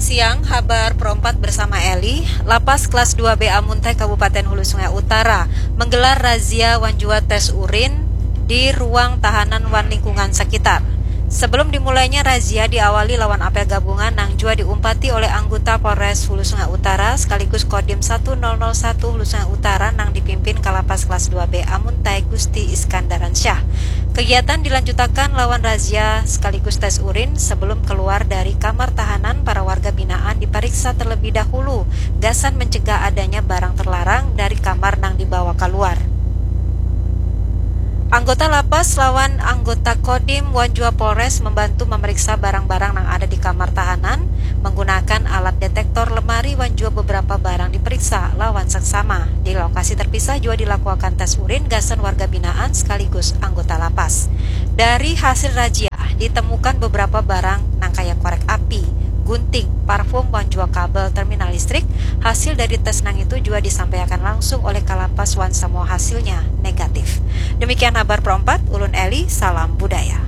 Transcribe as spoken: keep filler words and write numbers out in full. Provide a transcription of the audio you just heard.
Siang, habar Pro empat bersama Eli. Lapas kelas dua B Amuntai Kabupaten Hulu Sungai Utara menggelar razia wan jua tes urin di ruang tahanan wan lingkungan sekitar. Sebelum dimulainya razia diawali lawan apel gabungan nang jua diumpati oleh anggota Polres Hulu Sungai Utara sekaligus Kodim satu nol nol satu Hulu Sungai Utara nang dipimpin Kalapas kelas dua B Amuntai Gusti Iskandaransyah. Kegiatan dilanjutakan lawan razia sekaligus tes urin sebelum keluar dari kamar tahanan. Para warga binaan diperiksa terlebih dahulu gasan mencegah adanya barang terlarang dari kamar nang dibawa keluar. Anggota lapas lawan anggota Kodim wan jua Polres membantu memeriksa barang-barang nang ada di kamar tahanan menggunakan alat detektor lemari wan jua beberapa barang diperiksa lawan seksama. Di lokasi terpisah jua dilakuakan tes urin gasan warga binaan sekaligus anggota lapas. Dari hasil razia, ditemukan beberapa barang nang kaya korek api, gunting, parfum, wan jua kabel terminal listrik. Hasil dari tes nang itu jua disampaiakan langsung oleh Kalapas wan semua hasilnya negatif. Demikian habar Pro empat, ulun Eli, salam budaya.